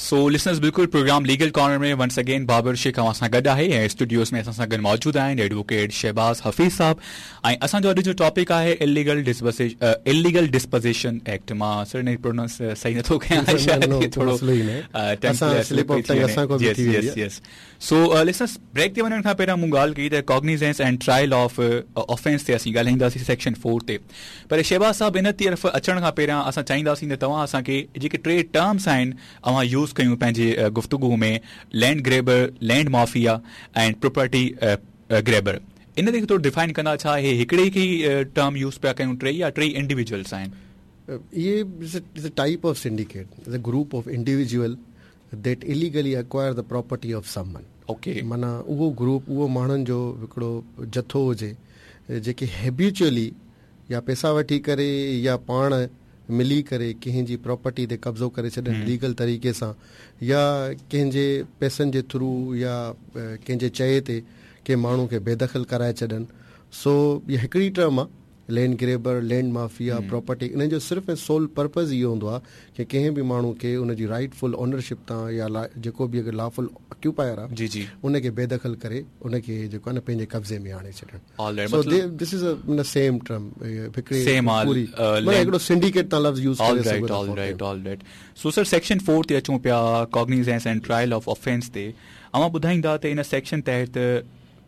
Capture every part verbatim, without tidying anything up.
So listeners बिल्कुल programme legal corner में once again बाबर शेख अव्हां सां गॾु आहे ऐं स्टूडियोज़ में असां सां गॾु मौजूदु आहिनि एडवोकेट शहबाज़ हफ़ीज़ साहब ऐं असांजो अॼु जो टॉपिक आहे इलीगल डिस्पोज़े इलीगल डिस्पोज़ेशन एक्ट। मां सर इन प्रोनाउंस सही नथो कयां, शायदि थोरो yes yes. So listeners break ते वञण खां पहिरियां मूं ॻाल्हि कई त cognizance and trial of offence ते असीं ॻाल्हाईंदासीं सेक्शन फोर ते। पर शहबाज़ साहब इन तरफ़ अचण खां पहिरियां असां चाहींदासीं त तव्हां असांखे जेके टे टर्म्स आहिनि अव्हां यूज़ कयूं पंहिंजी गुफ्तगू में, land grabber, land mafia and property grabber, इन ते थोरो डिफाइन कंदा छा हे हिकिड़े खे टर्म यूज़ पिया कयूं टे या टे इंडिविजुअल्स आहिनि? इहे is a type of syndicate, is a group of individual that illegally acquire the property of someone. Okay, माना उहो ग्रुप उहो माण्हुनि जो हिकिड़ो जथो हुजे जेके हैबिचुअली या पैसा वठी करे या पाण मिली करे कंहिंजी प्रॉपर्टी ते कब्ज़ो करे छॾनि लीगल तरीक़े सां या कंहिंजे पैसनि जे थ्रू या कंहिंजे चए ते कंहिं माण्हू खे बेदख़ल कराए छॾनि। सो इहा हिकिड़ी टर्म आहे land grabber, land mafia, property. इन जो सिर्फ़ ऐं सोल पर्पज़ इहो हूंदो आहे की कंहिं बि माण्हू खे उनजी राइटफुल ओनरशिप तां या जेको बि अगरि लॉफुल ऑक्यूपायर आहे जी जी उनखे बेदख़ल करे उनखे जेको आहे न पंहिंजे कब्ज़े में आणे छॾणु। So this is a same term, हिकिड़ी पूरी माना हिकिड़ो सिंडिकेट तां लफ़्ज़ यूज़ करे सघो था। Alright alright. So sir section four ते अचूं पिया, cognizance and trial of offence ते। अव्हां ॿुधाईंदा त इन सेक्शन तहत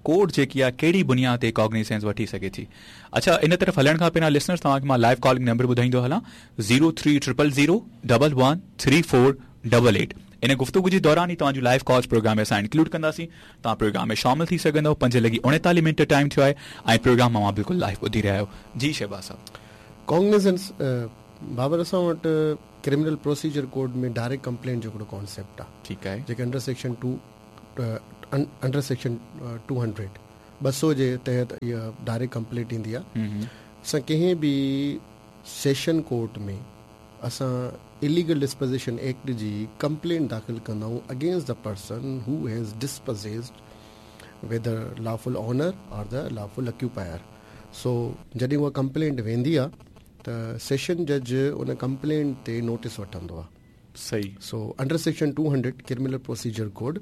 कोर्ट जेकी आहे कहिड़ी बुनियाद ते कॉग्निजेंस वठी सघे थी? अच्छा, इन तरफ़ हलण खां पहिरियां लिसनर्स तव्हांखे मां लाइव कॉलिंग नंबर ॿुधाईंदो हलां zero three triple zero double one three four double eight. इन गुफ्तगू जे दौरान ई तव्हांजो लाइव कॉल्स प्रोग्राम में असां इंक्लूड कंदासीं, तव्हां प्रोग्राम में शामिल थी सघंदव। पंज लॻी उणेतालीह मिंट टाइम थियो आहे ऐं प्रोग्राम मां बिल्कुलु लाइव ॿुधी रहिया आहियो। जी शहबाज़ साहब, कॉग्निजेंस बाबर असां वटि criminal procedure code में डायरेक्ट कंप्लेंट जो हिकिड़ो कॉन्सेप्ट आहे, ठीकु आहे, जेके under section two under section two hundred ॿ सौ जे तहत इहा डायरेक्ट कंप्लेंट ईंदी आहे। असां कंहिं बि सेशन कोर्ट में असां इलीगल डिस्पोज़िशन एक्ट जी कंप्लेंट दाख़िल कंदा आहियूं against the person who has dispossessed whether lawful owner or the lawful occupier. So जॾहिं उहा कंप्लेंट वेंदी आहे त सेशन जज उन कंप्लेंट ते नोटिस वठंदो आहे। सही। So under section two hundred criminal procedure code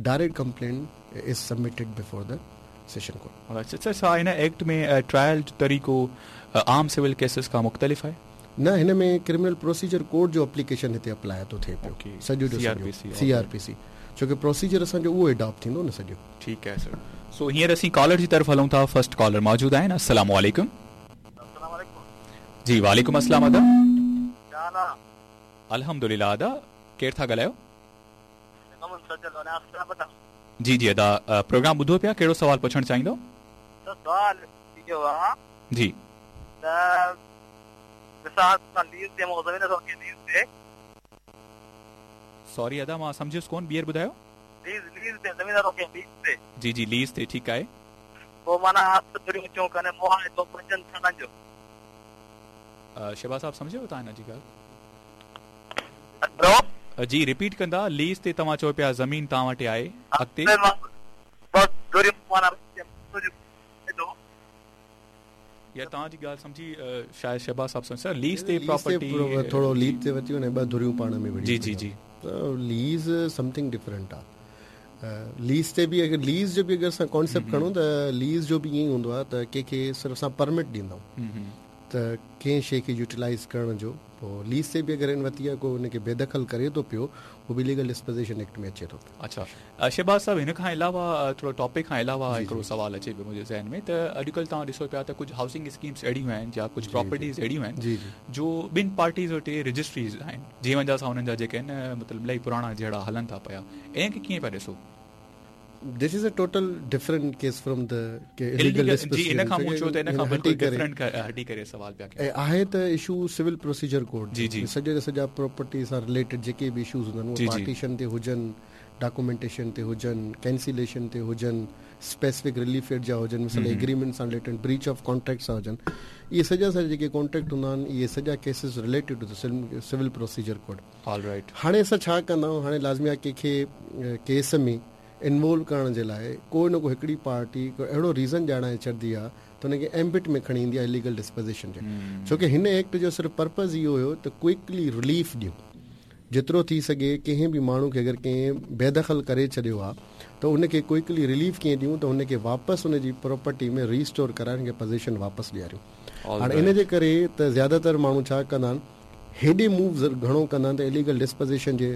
direct complaint is submitted before the session court. अच्छा अच्छा, छा हिन एक्ट में ट्रायल जो तरीक़ो आम सिविल केसिस खां मुख़्तलिफ़ आहे? न, हिन में क्रिमिनल प्रोसीजर कोड जो एप्लीकेशन हिते अप्लाई थो थिए पियो सॼो जो सी आर पी सी, छो की प्रोसीजर असांजो उहो अडॉप्ट थींदो न सॼो। ठीकु आहे सर। सो हींअर असीं कॉलर जी तरफ़ हलूं था। फर्स्ट कॉलर मौजूदु आहिनि। अस्सलाम वालेकुम। जी वालेकुम अस्सलाम अदा। अल्हम्दुलिल्लाह अदा, केरु था ॻाल्हायो? जी जी अदा, प्रोग्राम ॿुधो पिया, कहिड़ो सवाल पुछणु चाहींदो? सवाल इहो आहे जी त सॉरी अदा, मां सम्झियुसि कोन, ॿीहर ॿुधायो। लीज़ लीज़ ते ज़मीन रोके लीज़ ते। जी जी लीज़ ते, ठीकु आहे। पोइ माना धुरियूं चऊं कने मुआहिदो पंजनि सालनि जो। शहबाज़ साहब सम्झियो तव्हां हिन जी ॻाल्हि? हेलो जी रिपीट कंदा। लीज़ ते तव्हां चओ पिया ज़मीन तव्हां वटि आहे, अॻिते या तव्हांजी ॻाल्हि सम्झी शायदि शहबाज़ साहब सम्झ। सर लीज़ ते प्रॉपर्टी थोरो लीज़ ते वठी वञे ॿ धुरियूं पाण में जी जी जी त लीज़ समथिंग डिफरेंट आहे। लीज़ ते बि अगरि लीज़ जो बि अगरि असां कॉन्सेप्ट खणूं त लीज़ जो बि ईअं ई हूंदो आहे त कंहिंखे सिर्फ़ असां परमिट ॾींदा आहियूं त कंहिं शइ खे यूटिलाइज़ करण जो। पोइ लीज़ ते बि अगरि हिन वरिती आहे को हुनखे बेदख़ल करे थो पियो, उहो बि लीगल डिस्पोज़िशन एक्ट में अचे थो पियो। अच्छा शहबाज़ साहब, हिन खां अलावा थोरो टॉपिक खां अलावा हिकिड़ो सवाल अचे पियो मुंहिंजे ज़हन में त अॼुकल्ह तव्हां ॾिसो पिया त कुझु हाउसिंग स्कीम्स अहिड़ियूं आहिनि या कुझु प्रॉपर्टीज़ अहिड़ियूं आहिनि जो ॿिनि पार्टीज़ वटि रजिस्ट्रीज़ आहिनि, जीअं सां हुननि जा जेके आहिनि मतिलबु इलाही पुराणा जहिड़ा हलनि था पिया, इन खे कीअं पिया ॾिसो? This is a total different case from the illegal disposition. जी इन खां मूं चयो त इन खां बिल्कुल डिफरेंट हटी करे सवाल पिया कयूं। आहे त इशू सिविल प्रोसीजर कोड जी जी सॼे सॼा प्रॉपर्टी सां रिलेटेड जेके बि इशूज़ हूंदा आहिनि, उहे पार्टीशन ते हुजनि, डॉक्यूमेंटेशन ते हुजनि, कैंसिलेशन ते हुजनि, स्पेसिफिक रिलीफ एड जा हुजनि, मिसाल एग्रीमेंट सां रिलेटेड, ब्रीच ऑफ कॉन्ट्रैक्ट सां हुजनि, इहे सॼा सॼा जेके कॉन्ट्रैक्ट हूंदा आहिनि, इहे सॼा cases related to the civil procedure code. Alright. हाणे असां छा कंदा आहियूं, हाणे लाज़मी आहे कंहिंखे केस में इन्वॉल्व करण जे लाइ को न को हिकिड़ी पार्टी को अहिड़ो रीज़न ॼाणाए छॾंदी आहे त हुनखे एम्बिट में खणी ईंदी आहे इलीगल डिस्पोज़िशन जे, छो की हिन एक्ट जो सिर्फ़ पर्पज़ इहो हुयो त क्विकली रिलीफ ॾियूं। जेतिरो थी सघे कंहिं बि माण्हू खे अगरि कंहिं बेदख़ल करे छॾियो आहे त उनखे क्विकली रिलीफ कीअं ॾियूं त उनखे वापसि उनजी प्रॉपर्टी में रीस्टोर कराए उनखे पोज़ीशन वापसि ॾियारियूं। हाणे इन जे करे त ज़्यादातर माण्हू छा कंदा आहिनि, हेॾे मूव घणो कंदा आहिनि त इलीगल डिस्पोज़िशन जे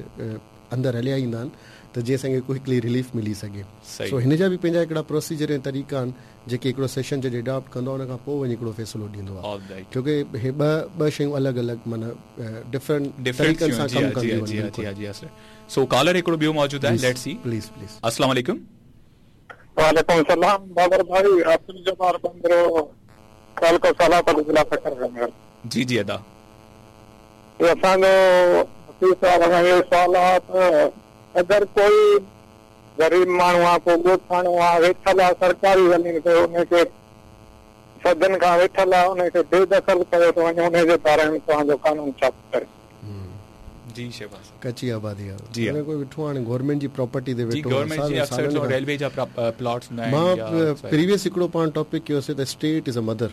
अंदरि हलिया ईंदा आहिनि त जीअं असांखे क्विकली रिलीफ मिली सघे। सो हिन जा बि पंहिंजा हिकिड़ा प्रोसीजर ऐं तरीक़ा आहिनि जेके हिकिड़ो सेशन जज अडॉप्ट कंदो आहे, उन खां पोइ वञी हिकिड़ो फ़ैसिलो ॾींदो आहे, छो की हे ॿ ॿ शयूं अलॻि अलॻि माना डिफरेंट तरीक़नि सां कमु कंदियूं आहिनि। सो कॉलर हिकिड़ो ॿियो मौजूदु आहे, let's see please please. अस्सलाम वालेकुम। वालेकुम सलाम। बाबर भाई, अब्दुल जब्बार बंदरो तालुको सालापत ज़िला सखर। जी जी अदा, असांजो सवाल आहे त अगरि कोई ग़रीब माण्हू आहे, को ॻोठाणो आहे, वेठल आहे सरकारी ज़मीन ते, उनखे सदन खां वेठल आहे, उनखे बेदख़ल कयो थो वञे, उनजे बारे में तव्हांजो कानून छा करे? जी शहबाज़, कच्ची आबादी आहे, जी कोई वेठो हाणे गवर्नमेंट जी प्रॉपर्टी ते वेठो, गवर्नमेंट जी अक्सर रेलवे जा प्लॉट्स हुंदा आहिनि। मां प्रीवियस हिकिड़ो पाण टॉपिक कयोसीं त स्टेट is a mother,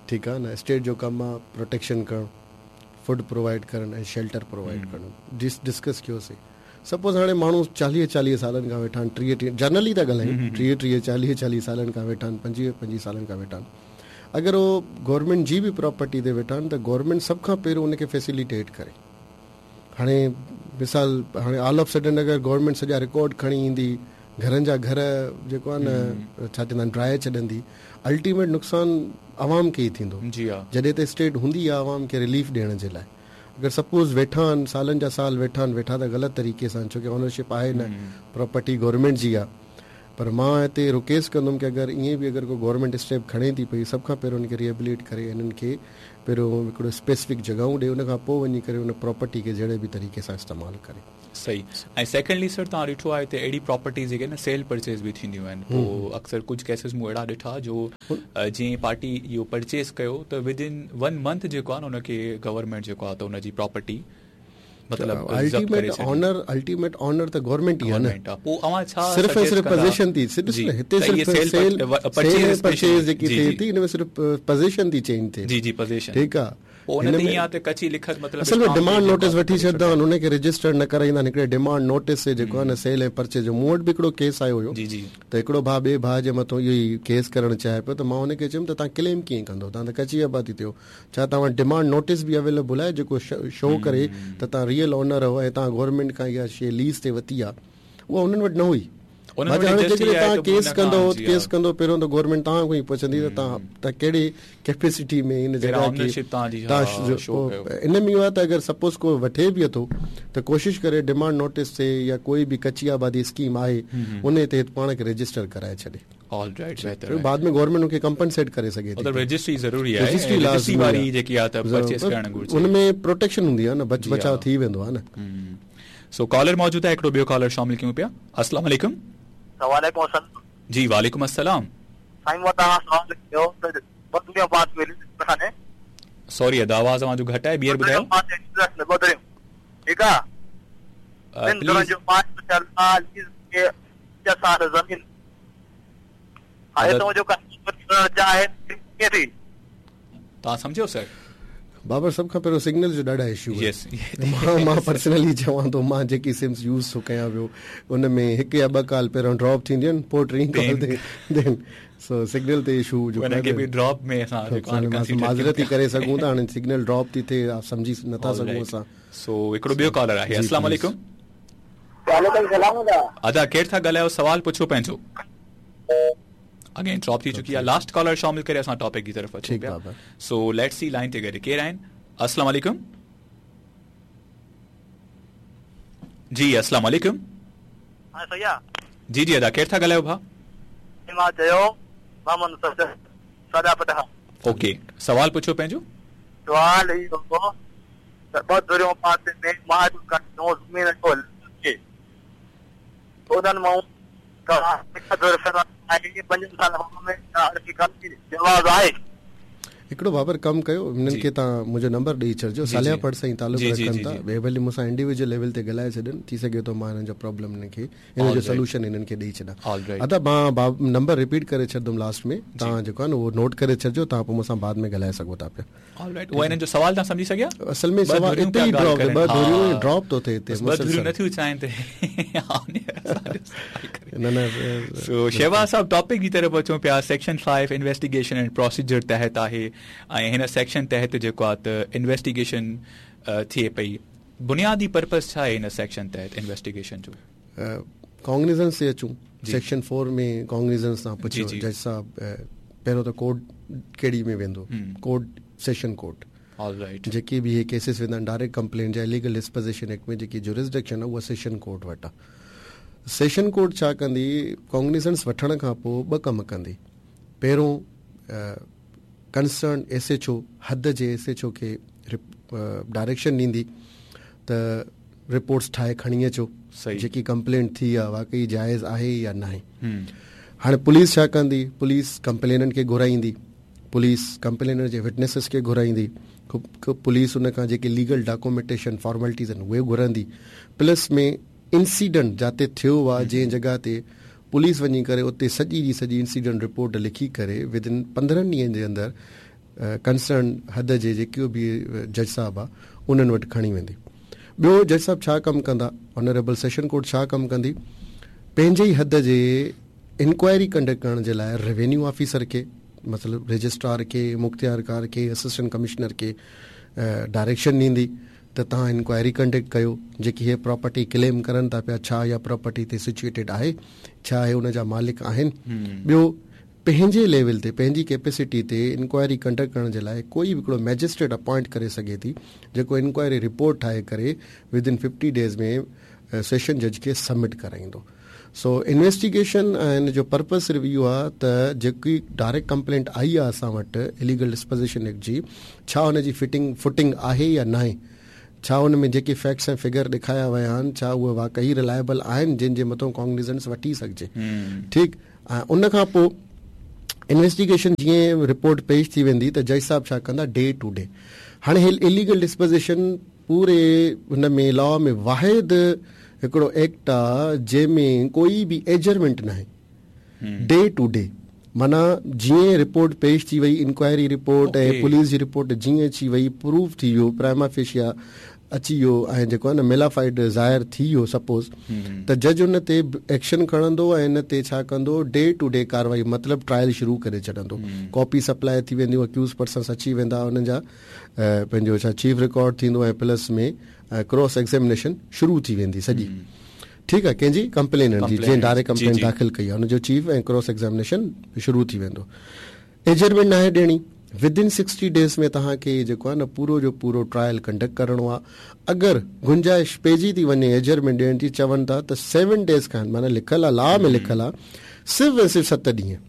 ठीकु आहे न, स्टेट जो कमु आहे प्रोटेक्शन करणु, फूड प्रोवाइड करणु ऐं शेल्टर प्रोवाइड करणु, डिस डिस्कस कयोसीं। सपोज़ हाणे माण्हू चालीह चालीह सालनि खां वेठा आहिनि, टीह टीह जनरली था ॻाल्हायूं, टीह टीह चालीह चालीह सालनि खां वेठा आहिनि, पंजवीह पंजवीह सालनि खां वेठा आहिनि, अगरि उहो गवर्नमेंट जी बि प्रॉपर्टी ते वेठा आहिनि त गवर्नमेंट सभ खां पहिरियों उनखे फैसिलिटेट करे। हाणे मिसाल हाणे ऑल ऑफ सडन अगरि गवर्नमेंट सॼा रिकॉर्ड खणी ईंदी, घरनि जा घर जेको आहे न छा चवंदा आहिनि ड्राए छॾंदी, अल्टीमेट नुक़सानु आवाम खे ई थींदो। जी हा, जॾहिं त स्टेट हूंदी आहे आवाम खे रिलीफ ॾियण जे लाइ, अगरि सपोज़ वेठा आहिनि सालनि जा साल वेठा आहिनि, वेठा त ग़लति तरीक़े सां, छो की ओनरशिप आहे न, प्रॉपर्टी गवर्नमेंट जी आहे, पर मां हिते रिक्वेस्ट कंदुमि की अगरि ईअं बि अगरि को गवर्नमेंट स्टेप खणे थी पई, सभ खां पहिरियों हुनखे रिहेबिलिटेट करे हिननि खे पहिरियों हिकिड़ो स्पेसिफिक जॻहियूं ॾे, उन खां पोइ वञी करे उन प्रॉपर्टी खे जहिड़े बि तरीक़े सां इस्तेमालु करे। सही। ऐं सेकेंडली सर, तव्हां ॾिठो आहे त अहिड़ी प्रॉपर्टीज़ जेके आहिनि सेल परचेज़ बि थींदियूं आहिनि, पोइ अक्सर कुझु केसिस मूं अहिड़ा ॾिठा जो जीअं पार्टी इहो परचेज़ कयो त विद इन वन मंथ जेको आहे न हुनखे गवर्नमेंट जेको आहे त हुनजी प्रॉपर्टी मतलब अल्टीमेट ऑनर अल्टीमेट ऑनर त गवर्नमेंट ई आहे न, पोइ अवां छा सिर्फ़ ऐं सिर्फ़ पोज़ीशन थी, सिर्फ़ हिते सिर्फ़ सेल परचेज़ परचेज़ जेकी थिए थी इन में सिर्फ़ पोज़ीशन थी चेंज थिए। जी जी, पोज़ीशन ठीकु आहे। कच्ची लिखत मतलब असल में डिमांड नोटिस वठी छॾंदा आहिनि, उनखे रजिस्टर न कराईंदा आहिनि, हिकिड़े डिमांड नोटिस ते जेको आहे न सेल ऐं परचेज जो। मूं वटि बि हिकिड़ो केस आयो हुयो जी जी, त हिकिड़ो भाउ ॿिए भाउ जे मथां इहो ई केस करणु चाहे पियो, त मां हुनखे चयुमि त तव्हां क्लेम कीअं कंदो, तव्हां त कच्ची आबादी थियो, छा तव्हां वटि डिमांड नोटिस बि अवेलेबल आहे जेको शो करे त तव्हां रियल ओनर हो ऐं तव्हां गवर्नमेंट खां इहा शइ लीज़ ते वरिती आहे, उहा हुननि वटि न हुई। हाणे जेकॾहिं तव्हां केस कंदो केस कंदो पहिरियों त गवर्नमेंट तव्हां खां ई पुछंदी त तव्हां तव्हां कहिड़े कैपेसिटी में हिन जॻह खे तव्हां। इन में इहो आहे त अगरि सपोज़ को वठे बि अथो त कोशिशि करे डिमांड नोटिस ते या कोई बि कच्ची आबादी स्कीम आहे उन ते पाण खे रजिस्टर कराए छॾे। ऑलराइट, बेहतर। बाद में गवर्नमेंट उनखे कंपनसेट करे सघे थी। मतलब रजिस्ट्री ज़रूरी आहे, रजिस्ट्री लाज़मी वारी जेकी आहे त परचेज करणु घुर्जे, उन में प्रोटेक्शन हूंदी आहे न, बच बचाव थी वेंदो आहे न। सो कॉलर मौजूद आहे, हिकिड़ो ॿियो कॉलर शामिल कयूं पिया। अस्सलाम वालेकुम। वालेकुम अस्सलाम। जी वालेकुम अस्सलाम। साईं मां तव्हां सवाल कयो त ॿ दुनिया पास मिली असांजे। सॉरी अदा, आवाज़ अव्हां जो घटि आहे, ॿीहर ॿुधायो। ॿ ठीकु आहे, ॿिनि जो पांच के साल ज़मीन हाणे तव्हांजो चाहे कीअं थी, तव्हां सम्झो सर? बाबर, सभ खां पहिरियों सिग्नल जो ॾाढा इशू आहे। मां मां पर्सनली चवां थो, मां जेकी सिम्स यूज़ थो कयां पियो उन में हिकु या ॿ कॉल पहिरियों ड्रॉप थींदियूं आहिनि, पोइ टीं कॉल ते then सो सिग्नल ते इशू जो उनखे बि ड्रॉप में असां माज़रत ई करे सघूं था, हाणे सिग्नल ड्रॉप थी थिए सम्झी नथा सघूं असां। सो हिकिड़ो ॿियो कॉलर आहे। अस्सलाम वालेकुम। वालेकुम सलाम। अदा अदा, केरु था ॻाल्हायो, सवाल पुछो पंहिंजो। अगेन ड्रॉप थी चुकी आहे, लास्ट कॉलर शामिल करे असां टॉपिक जी तरफ़ अचूं पिया। सो let's see line ते गॾु केरु आहिनि। अस्सलाम वालेकुम। जी अस्सलाम वालेकुम। हां सही आहे। जी जी अदा, केरु था ॻाल्हायो भाउ? मां चयो मोहम्मद सदा पटा। ओके, सवाल पुछो पंहिंजो। सवाल इहो हो त ॿ धुरियूं पासे में मां जो ज़मीन जो उन्हनि मां हिकिड़ो बाबर कमु कयो, हिननि खे तव्हां मुंहिंजो नंबर ॾेई छॾिजो, सालिया पट सां ई तालुक़ु रखनि था, ॿिए भली मूंसां इंडिविजुअल लेवल ते ॻाल्हाए छॾनि, थी सघे थो मां हिननि जो प्रॉब्लम हिननि खे हिन जो सोल्यूशन हिननि खे ॾेई छॾां। अदा मां नंबर रिपीट करे छॾंदुमि लास्ट में, तव्हां जेको आहे न उहो नोट करे छॾिजो, तव्हां पोइ मूंसां बाद में ॻाल्हाए सघो था पिया। ऑलराइट, उहा हिननि जो सवाल तव्हां सम्झी सघिया? असल में सवाल हिते ई ड्रॉप, ॿ धुरियूं ड्रॉप थो थिए हिते, ॿ धुरियूं नथियूं चाहिनि त न न। सो शहबाज़ साहब, टॉपिक जी तरफ़ अचूं पिया। Section five investigation and procedure तहत आहे ऐं हिन सेक्शन तहत जेको आहे त इन्वेस्टिगेशन थिए पई। बुनियादी पर्पस छा आहे हिन सेक्शन तहत इन्वेस्टिगेशन जो? कॉग्निजेंस ते अचूं, सेक्शन फोर में कॉग्निजेंस तां पुछियो जज साहब, पहिरियों त कोर्ट कहिड़ी में वेंदो? Court session court. ऑलराइट, जेके बि इहे केसिस वेंदा आहिनि डायरेक्ट कंप्लेंट या इलीगल डिस्पोजिशन एक्ट में जेकी जुरिस्डिक्शन आहे उहा सेशन कोर्ट वटि आहे। सेशन कोर्ट छा कंदी, कॉग्निजेंस वठण खां पोइ ॿ कम कंदी। पहिरियों कंसर्न एस एच ओ, हद जे एस एच ओ खे डायरेक्शन ॾींदी त रिपोर्ट्स ठाहे खणी अचो, जेकी कंप्लेंट थी आहे वाकई जाइज़ आहे या न आहे। हाणे पुलिस छा कंदी, पुलिस कंप्लेनंट खे घुराईंदी, पुलिस कंप्लेनर जे विटनेसेस खे घुराईंदी, पुलिस उन खां जेके लीगल डॉक्यूमेंटेशन फॉर्मेलिटीज़ आहिनि उहे घुरंदी, प्लस में इंसिडेंट जाते थियो आहे जंहिं जॻह ते पुलिस वञी करे उते सॼी जी सॼी इंसिडेंट रिपोर्ट लिखी करे विद इन पंद्रहं ॾींहनि जे अंदरि कंसर्न हद जे जेको बि जज साहिबु आहे उन्हनि वटि खणी वेंदी। ॿियो जज साहिबु छा कमु कंदा, ऑनरेबल सेशन कोर्ट छा कमु कंदी, पंहिंजे ई हद जे इंक्वायरी कंडक्ट करण जे लाइ रेवेन्यू ऑफिसर खे, मतिलबु रजिस्ट्रार खे, मुख्तियारकार खे, असिस्टेंट कमिश्नर खे डायरेक्शन ॾींदी त तव्हां इंक्वायरी कंडक्ट कयो, जेकी हीअ प्रॉपर्टी क्लेम करनि था पिया छा इहा प्रॉपर्टी ते सिचुएटेड आहे, छा हे उनजा मालिक आहिनि। ॿियो पंहिंजे लेवल ते पंहिंजी कैपेसिटी ते इंक्वायरी कंडक्ट करण जे लाइ कोई बि हिकिड़ो मैजिस्ट्रेट अपॉइंट करे सघे थी, जेको इंक्वायरी रिपोर्ट ठाहे करे विद इन फिफ्टी डेज़ में सेशन जज खे सबमिट कराईंदो। सो इन्वेस्टिगेशन ऐं हिन जो पर्पस सिर्फ़ु इहो आहे त जेकी डायरेक्ट कंप्लेंट आई आहे असां वटि इलीगल डिस्पोजिशन एक्ट जी, छा हुनजी फिटिंग फुटिंग आहे या न आहे, छा हुन में जेके फैक्ट्स ऐं फिगर ॾेखारिया विया आहिनि छा उहे वाकई रिलायबल आहिनि जंहिं जे मथां कॉग्निजेंस वठी सघिजे। ठीकु, ऐं उन खां पोइ इन्वेस्टिगेशन जीअं रिपोर्ट पेश थी वेंदी त जज साहिबु छा कंदा डे टू डे। हाणे हे इलीगल डिस्पोजिशन पूरे हुन में लॉ में वाहिद हिकिड़ो एक्ट आहे जंहिंमें कोई बि एजरमेंट न आहे, डे टू डे, माना जीअं रिपोर्ट पेश थी वई, इंक्वायरी रिपोर्ट ऐं पुलिस जी रिपोर्ट जीअं अची वई, प्रूफ थी वियो, प्राइमा फेशिया अची वियो ऐं जेको आहे न मेलाफाइड ज़ाहिर थी वियो सपोज़, त जज उन ते एक्शन खणंदो ऐं इन ते छा कंदो डे टू डे कार्रवाई, मतिलबु ट्रायल शुरू करे छॾंदो। कॉपी सप्लाई थी वेंदियूं, अक्यूज़ पर्सन्स अची वेंदा, उन्हनि जा पंहिंजो छा चीफ रिकॉर्ड थींदो ऐं प्लस में क्रॉस एग्ज़ामिनेशन शुरू थी वेंदी सॼी। ठीकु आहे, कंहिंजी कंप्लेनंट जी जंहिं डायरेक्ट कंप्लेंट दाख़िल कई आहे हुनजो चीफ ऐं क्रॉस एग्ज़ामिनेशन शुरू थी वेंदो। एजरमेंट न आहे ॾियणी, विद इन सिक्सटी डेज़ में तव्हांखे जेको आहे न पूरो जो पूरो ट्रायल कंडक्ट करिणो आहे। अगरि गुंजाइश पइजी थी वञे एजरमेंट ॾियण जी, चवनि था त सेवन डेज़ खां, माना लिखियलु आहे लॉ में लिखियलु आहे सिर्फ़ु ऐं सिर्फ़ु सत ॾींहं,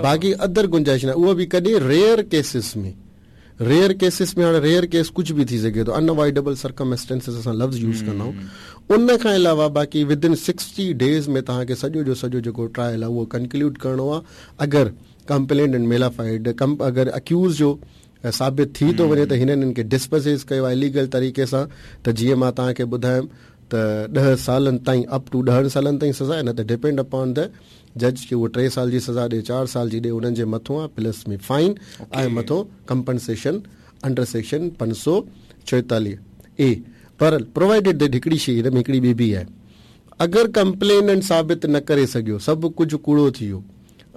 बाक़ी अदर गुंजाइश न, उहो बि कॾहिं रेयर केसिस में। रेयर केसिस में हाणे रेयर केस कुझु बि थी सघे थो, अनअवॉइडेबल सर्कमस्टेंसेस असां लफ़्ज़ यूज़ कंदा आहियूं। उन खां अलावा बाक़ी विद इन सिक्सटी डेज़ में तव्हांखे सॼो जो सॼो जेको ट्रायल आहे उहो कंक्लूड करिणो आहे। अगरि कंप्लेंट एंड मेलाफाइड कम अगरि अक्यूज़ जो साबित थी थो वञे त हिननि हिननि खे डिस्पोज़ कयो आहे इलीगल तरीक़े सां, त जीअं मां तव्हांखे ॿुधायुमि त ॾह सालनि ताईं अप टू ॾहनि सालनि ताईं सज़ा, न त डिपेंड अपॉन the जज की उहो टे साल जी सज़ा ॾे चारि साल जी ॾे, उन्हनि जे मथां आहे प्लस में फाइन ऐं मथां कंपनसेशन अंडर सेक्शन पंज सौ चोएतालीह ए। पर प्रोवाइडेड that हिकिड़ी शइ हिन में हिकिड़ी ॿी बि आहे, अगरि कंप्लेनंट साबित न करे सघियो, सभु कुझु कूड़ो थी वियो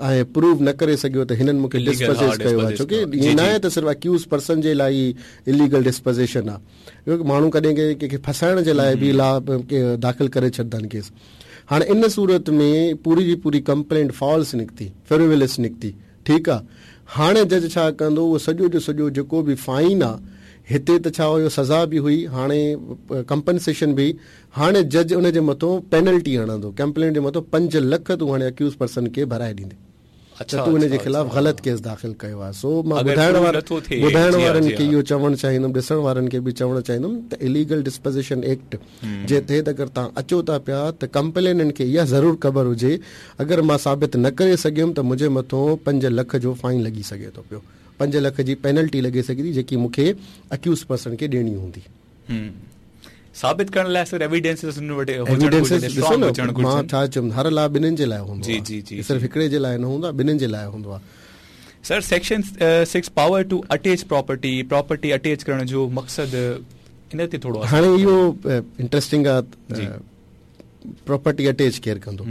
ऐं प्रूव न करे सघियो त हिननि मूंखे डिस्पोज़ कयो आहे, छो की ईअं न आहे त सिर्फ़ु अक्यूज़ पर्सन जे लाइ ई इलीगल डिस्पोज़ेशन आहे, माण्हू कॾहिं कंहिंखे फसाइण जे लाइ बि ला दाख़िल करे छॾंदा आहिनि केस। हाणे इन सूरत में पूरी जी पूरी कंप्लेंट फॉल्स निकिती, फ्रिवलस निकिती, ठीकु आहे। हाणे जज छा कंदो, उहो सॼो जो सॼो जेको बि फाइन आहे, हिते त छा हुयो सज़ा बि हुई, हाणे कंपनसेशन बि, हाणे जज उन जे मथां पेनल्टी हणंदो, कंप्लेंट जे मथां पंज लख तूं हाणे अक्यूज़ पर्सन खे भराए ॾींदे। अच्छा, तूं हुन जे ख़िलाफ़ ग़लति केस दाख़िल कयो आहे। सो मां ॿुधाइण वारनि ॿुधाइण वारनि खे इहो चवणु चाहींदुमि, ॾिसण वारनि खे बि चवणु चाहींदुमि त इलीगल डिस्पोज़िशन एक्ट जे तहत अगरि तव्हां अचो था पिया त कंप्लेनंट खे इहा ज़रूरु ख़बर हुजे, अगरि मां साबित न करे सघियुमि त मुंहिंजे मथां पंज लख जो फाइन लॻी सघे थो पियो। پنج لک جي پينلٽي لڳي سگهي ٿي جيڪي مون کي اڪيوز پرسن کي ڏيڻي هوندي. ثابت ڪرڻ لاءِ سر ايويڊنسز ڏسو نه مان ڇا چيم هر لا ٻنهن جي لاءِ هوندو آهي، صرف هڪڙي جي لاءِ نه هوندو آهي، ٻنهن جي لاءِ هوندو آهي. Sir section six power to attach property, property attach ڪرڻ جو مقصد ان تي ٿورو هاڻي اهو انٽريسٽنگ آهي. پراپرٽي اٽيچ ڪير ڪندو؟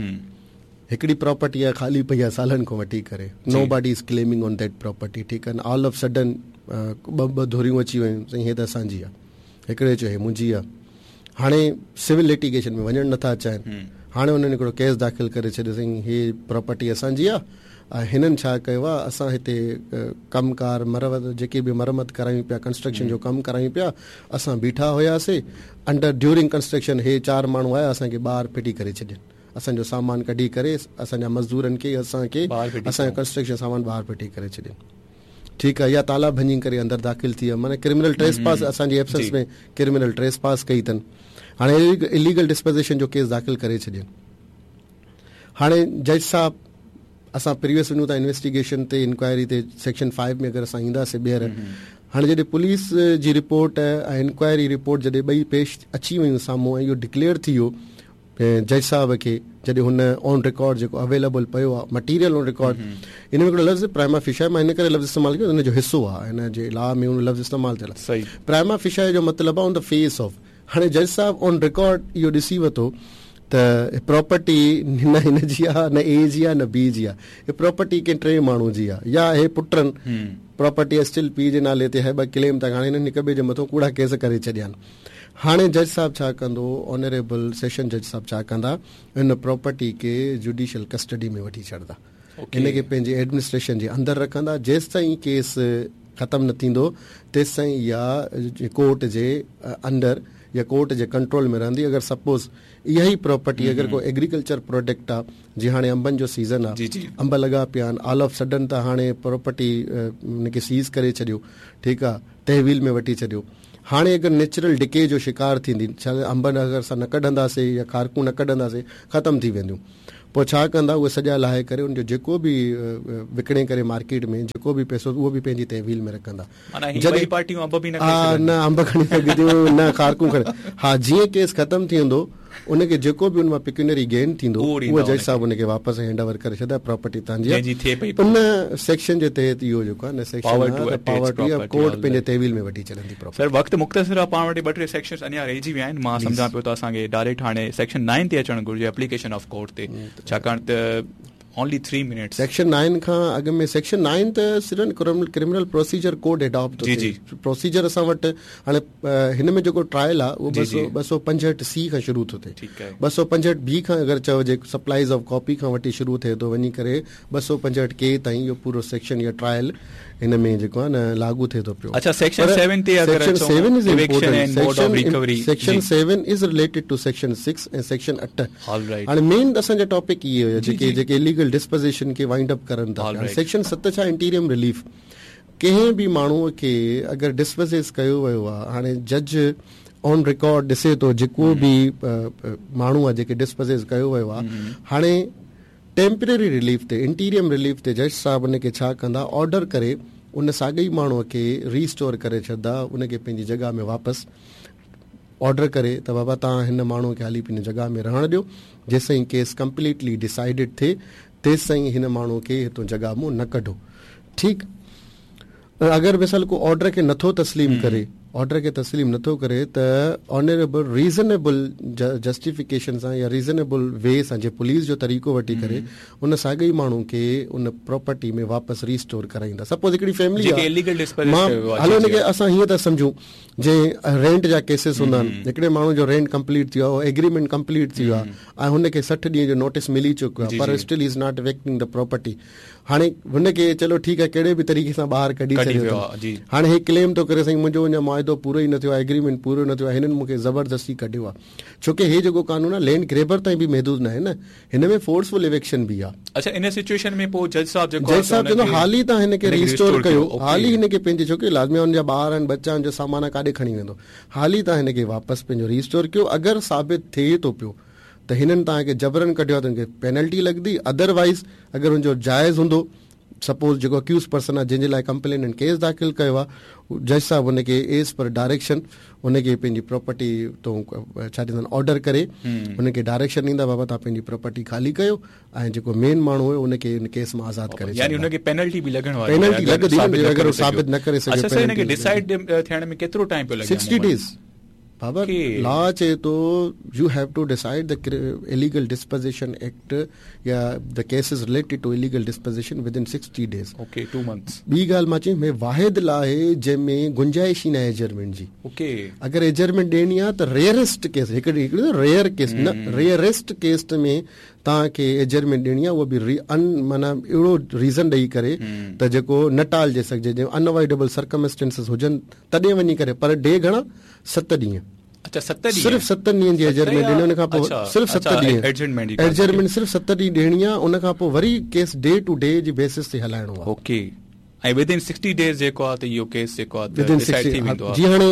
هڪڙي پراپرٽي آهي خالي پئي آهي سالن کان وٺي ڪري، nobody is claiming on that property, ٺيڪ آهي. آل آف سڊن ٻه ٻه ڌريون اچي ويون، سائين هي ته اسان جي آهي، هڪڙي چيو هي منهنجي آهي. هاڻي سول لٽيگيشن ۾ وڃڻ نٿا چاهين، هاڻي انهن هڪڙو ڪيس داخل ڪري ڇڏيو، سائين هي پراپرٽي اسان جي آهي ۽ هنن ڇا ڪيو آهي، اسان هتي ڪم ڪار مرمت جيڪي به مرمت ڪرايون پيا، ڪنسٽرڪشن جو ڪم ڪرايون پيا، اسان بيٺا هئاسين انڊر ڊيورنگ ڪنسٽرڪشن هي چار ماڻهو آيا اسان کي ٻاهر ڦٽي ڪري ڇڏين، اسان جو سامان ڪڍي ڪري اسان جا مزدورن کي اسان کي اسان جو ڪنسٽرڪشن سامان ٻاهر ڦٽي ڪري ڇڏين، ٺيڪ آهي. يا تالا ڀڃي ڪري اندر داخل ٿي ويا، معنيٰ ڪرمنل ٽريس پاس اسان جي ايبسنس ۾ ڪرمنل ٽريس پاس ڪئي اٿن. هاڻي اليگل ڊسپوزيشن جو ڪيس داخل ڪري ڇڏين. هاڻي جج صاحب اسان پريويس وڃون ٿا انويسٽيگيشن تي، انڪوائري تي، سيڪشن فائيو ۾ اگر اسان اينداسين ٻيهر. هاڻي جڏهن پوليس جي رپورٽ ۽ انڪوائري رپورٽ جڏهن ٻئي پيش اچي ويون سامهون ۽ اهو ڊڪليئر ٿي ويو جج صاحب کي، جڏهن هن آن رڪارڊ جيڪو اويليبل پيو آهي مٽيريل آن رڪارڊ، ان ۾ هڪڙو لفظ پرائما فيشا، مان هن ڪري لفظ استعمال ڪيو ان جو حصو آهي، هن جي لا ۾ ان لفظ استعمال ٿيل آهي. پرائما فيشا جو مطلب آهي آن the fee of. هاڻي جج صاحب آن رڪارڊ اهو ڏسي ورتو ته پراپرٽي نه هن جي آهي، نه اي جي آهي، نه بي جي آهي، هي پراپرٽي ڪنهن ٽي ماڻهو جي آهي، يا هي پٽن پراپرٽي اسٽل پيءُ جي نالي تي، هي ٻه ڪليم ٿا، هاڻي هنن هڪ ٻئي جي مٿان ڪوڙا ڪيس ڪري ڇڏيا آهن. هاڻي جج صاحب ڇا ڪندو، آنريبل سيشن جج صاحب ڇا ڪندا، ان پراپرٽي کي جوڊيشل ڪسٽڊي ۾ وٺي ڇڏندا، هن کي پنهنجي ايڊمنسٽريشن جي اندر رکندا، جيستائين ڪيس ختم نه ٿيندو تيستائين اها ڪورٽ جي اندر يا ڪورٽ جي ڪنٽرول ۾ رهندي. اگر سپوز اها ئي پراپرٽي اگر ڪو ايگريڪلچر پروڊڪٽ آهي، جيئن هاڻي انبن جو سيزن آهي، انب لڳا پيا آهن، آل آف سڊن ته هاڻي پراپرٽي هن کي سيز ڪري ڇڏيو، ٺيڪ آهي، تحويل ۾ وٺي ڇڏيو. هاڻي اگر نيچرل ڊڪي جو شڪار ٿيندي، ڇا انبن اگر اسان نه ڪڍنداسين يا کارڪون نه ڪڍنداسين ختم ٿي وينديون، پوءِ ڇا ڪندا اهي سڄا لاهي ڪري ان جو جيڪو به وڪڻي ڪري مارڪيٽ ۾ جيڪو به پئسو اهو به پنهنجي تحويل ۾ رکندا. نه انب کڻي سگهنديون نه کارڪون کڻي، ها جيئن ڪيس ختم ٿي ويندو ان کي جيڪو به ان مان پيڪيونري گين ٿيندو اهو جج صاحب ان کي واپس هينڊ اوور ڪري ڇڏندا، پراپرٽي توهان جي. ان سيڪشن جي تحت اهو جيڪو آهي نه سيڪشن پاور ٽو يا ڪورٽ پنهنجي تحويل ۾ وٺي ڇڏندي. سر وقت مختصر آهي، پاڻ وٽ ٻه ٽي سيڪشنز اڃا رهجي ويا آهن، مان سمجهان پيو ته اسان کي ڊائريڪٽ هاڻي سيڪشن نائن تي اچڻ گهرجي، ايپليڪيشن آف ڪورٽ تي، ڇاڪاڻ ته only three minutes. Section nine کان اڳ ۾ سيڪشن نائن ته صرف ڪرمنل پروسيجر ڪوڊ اڊاپٽ ٿو ٿئي. پروسيجر اسان وٽ هاڻي هن ۾ جيڪو ٽرائل آهي اهو ٻه سؤ پنجهٺ سي کان شروع ٿو ٿئي، ٻه سؤ پنجهٺ بي کان اگر چئجي سپلائيز آف ڪاپي کان وٺي شروع ٿئي ٿو وڃي ڪري ٻه سؤ پنجهٺ ڪي تائين اهو پورو سيڪشن يا ٽرائل هن ۾ جيڪو آهي نه لاڳو ٿئي ٿو پيو. اڇا سيڪشن سيون تي اگر section seven is important, section seven is related to section six ۽ section اٺ. هاڻي مين اسان جا ٽاپڪ اهي هيا جيڪي جيڪي اليگل ڊسپوزيشن کي وائنڊ اپ ڪرن ٿا. سيڪشن ست ڇا انٽيريم رليف، ڪنهن به ماڻهوءَ کي اگر ڊسپوزيس ڪيو ويو آهي، هاڻي جج آن رڪارڊ ڏسي ٿو جيڪو به ماڻهو آهي جيڪي ڊسپوزيس ڪيو ويو آهي، هاڻي ٽيمپرري رليف تي انٽيريم رليف تي جج صاحب ان کي ڇا ڪندا، آرڊر ڪري ان ساڳئي ماڻهوءَ کي ريسٽور ڪري ڇڏندا، ان کي پنهنجي جڳهه ۾ واپس آرڊر ڪري ته بابا توهان هن ماڻهوءَ کي حالي پنهنجي جڳهه ۾ رهڻ ڏيو، جيستائين ڪيس ڪمپليٽلي ڊسائيڊڊ ٿئي تيستائين هن ماڻهوءَ کي هتان جڳهه مان نه ڪڍو. ٺيڪ، اگر مثال ڪو آرڊر کي نٿو تسليم ڪري، آرڊر کي تسليم نٿو ڪري ته آنريبل ريزنيبل جسٽيفڪيشن سان يا ريزنيبل وي سان جي پوليس جو طريقو وٺي ڪري ان ساڳئي ماڻهو کي ان پراپرٽي ۾ واپس ريسٽور ڪرائيندا. سپوز هڪڙي فيملي آهي، هلو هن کي اسان هيئن ٿا سمجهون جي رينٽ جا ڪيسز هوندا آهن، هڪڙي ماڻهو جو رينٽ ڪمپليٽ ٿي ويو آهي، ايگريمينٽ ڪمپليٽ ٿي ويو آهي ۽ هن کي سٺ ڏينهن جو نوٽيس ملي چڪو آهي، پر still is not vacating the property. هاڻي هن کي چلو ٺيڪ آهي ڪهڙي به طريقي سان ٻاهر ڪڍي ڇڏيو، هاڻي هي ڪليم ٿو ڪري سائين منهنجو اڃا معاهدو پورو ئي نه ٿيو آهي، ايگريمينٽ پورو نه ٿيو آهي، هنن مون کي زبردستي ڪڍيو آهي. ڇو ڪه هي جيڪو قانون آهي لينڊ گريبر تائين به محدود نه آهي نه، هن ۾ فورسفل ايويڪشن به آهي. اڇا ان سچوئيشن ۾ پوءِ جج صاحب جيڪو جج صاحب چوندو حالي توهان هن کي ريسٽور ڪيو، حالي هن کي پنهنجي، ڇو ڪه لازمي هن جا ٻار آهن ٻچا آهن جو سامان ڪاڏي کڻي ويندو، حالي توهان هن کي واپس پنهنجو ريسٽور ڪيو. اگر ثابت ٿئي ٿو پيو ته هنن توهان کي جبرن ڪڍيو آهي ته هن کي پينلٽي لڳندي، ادروائيز اگر هن جو جائز هوندو सपोज जेको अक्यूज पर्सन आहे जंहिंजे लाइ कंप्लेनेंट केस दाख़िल कयो आहे, जज साहिबु हुनखे एज़ पर डायरेक्शन हुनखे पंहिंजी प्रॉपर्टी तो छा चवंदा आहिनि ऑर्डर करे हुनखे डायरेक्शन ॾींदा, बाबा तव्हां पंहिंजी प्रॉपर्टी ख़ाली कयो ऐं जेको मेन माण्हू हुयो हुनखे हिन केस मां आज़ाद करे। यानी हुनखे पेनल्टी बि लॻण वारी पेनल्टी लॻंदी अगरि साबित न करे सघे। अच्छा सर, हिनखे डिसाइड थियण में केतिरो टाइम पियो लॻे? सिक्सटी डेज़ बाबा। लॉ चए थो you have to decide the illegal dispossession act या the cases related to illegal dispossession within sixty days. Okay, two months. ॿी ॻाल्हि मां चई, वाहिद लॉ आहे जंहिंमें गुंजाइश ई न आहे एडजर्नमेंट जी। ओके। अगरि एडजर्नमेंट ॾियणी आहे त रेयरेस्ट केस, हिकिड़ी हिकिड़ी रेयर केस न, रेयरेस्ट केस में तव्हांखे एडजर्नमेंट ॾियणी आहे, उहो बि अन माना अहिड़ो रीज़न ॾेई करे त जेको न टालजे सघिजे, जंहिं अनअवॉइडेबल सर्कमस्टेंसिस हुजनि तॾहिं वञी करे। पर डे घणा? सत ॾींहं। अच्छा, सत ॾींहं। सिर्फ़ सत ॾींहनि जी एडजर्नमेंट ॾिनी, उन खां पोइ सिर्फ़ सत ॾींहं एडजर्नमेंट सिर्फ़ सत ॾींहं ॾियणी आहे, उन खां पोइ वरी केस डे टू डे जी बेसिस ते हलाइणो आहे। ओके, ऐं विद इन सिक्सटी डेज़ जेको आहे त इहो केस जेको आहे विद इन सिक्सटी। जी, हाणे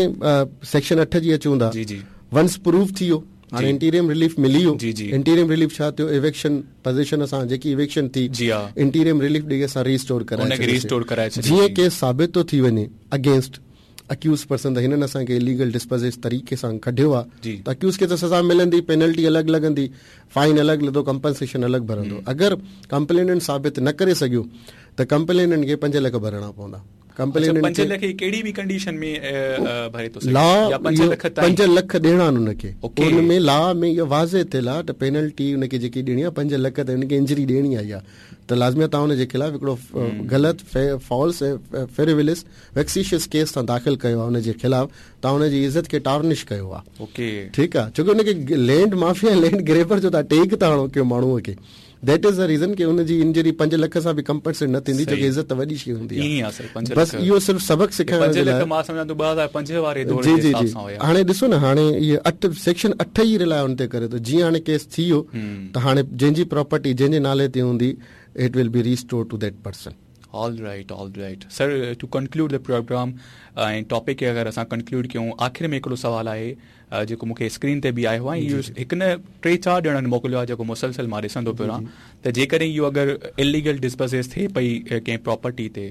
सेक्शन अठ जी अचूं था। जी जी। वंस प्रूफ थी वियो, हाणे इंटीरियम रिलीफ मिली वियो। जी जी। इंटीरियम रिलीफ छा थियो? इविक्शन पोज़ीशन असां जेकी इविक्शन थी, जी हा, इंटीरियम रिलीफ ॾेई असां रीस्टोर कराए हुनखे रीस्टोर कराए छॾियो। जीअं केस साबित थो थी वञे अगेंस्ट अक्यूज पर्सन त हिननि असांखे इलीगल डिस्पोज़ तरीक़े सां कढियो आहे, त अक्यूज खे त सज़ा मिलंदी, पेनल्टी अलॻि लॻंदी, फाइन अलॻि लॻंदो, कंपनसेशन अलॻि भरंदो। अगरि कंप्लेनेंट साबित न करे सघियो त कंप्लेनेंट खे पंज लख भरणा पवंदा। कंप्लेनेंट पंज लख कहिड़ी बि कंडीशन में भरे थो सघे? लॉ पंज लख ॾियणा आहिनि हुनखे। उन में लॉ में इहो वाज़े थियल आहे त पेनल्टी हुनखे जेकी ॾियणी आहे पंज लख, त हुनखे इंजरी ॾियणी आहे इहा, त लाज़मी तव्हां हुनजे ख़िलाफ़ हिकिड़ो ग़लति फॉल्स फ्रिवोलस वेक्सीशियस केस तव्हां दाख़िल कयो आहे, हुनजे ख़िलाफ़ तव्हां हुनजी इज़त खे टार्निश कयो आहे। ओके, ठीकु आहे, छो की हुनखे लैंड माफिया लैंड ग्रेबर जो तव्हां टेक था हणो कयो माण्हूअ खे, that is the reason की हुनजी इंजरी पंज लख सां बि कंपनसेट न थींदी, छो की इज़त वॾी शइ हूंदी आहे। बसि इहो सिर्फ़ सबक़ सेखारण जे लाइ मां सम्झां थो ॿ हज़ार पंज वारे दौर जी जी जी। हाणे ॾिसो न, हाणे इहे अठ सेक्शन अठ ई रिलाए हुन ते करे थो। जीअं हाणे केस थी वियो त हाणे जंहिंजी प्रॉपर्टी जंहिंजे नाले ते हूंदी, it will be restore to that person. All right, all right sir, to conclude the program ऐं टॉपिक खे अगरि असां कंक्लूड कयूं, आख़िर में हिकिड़ो सवालु आहे जेको मूंखे स्क्रीन ते बि आयो आहे, इहो हिकु न टे चारि ॼणनि मोकिलियो आहे जेको मुसलसल मां ॾिसंदो पियो रहां, त जेकॾहिं इहो अगरि इलीगल डिस्पोज़ेस थिए पई कंहिं प्रॉपर्टी ते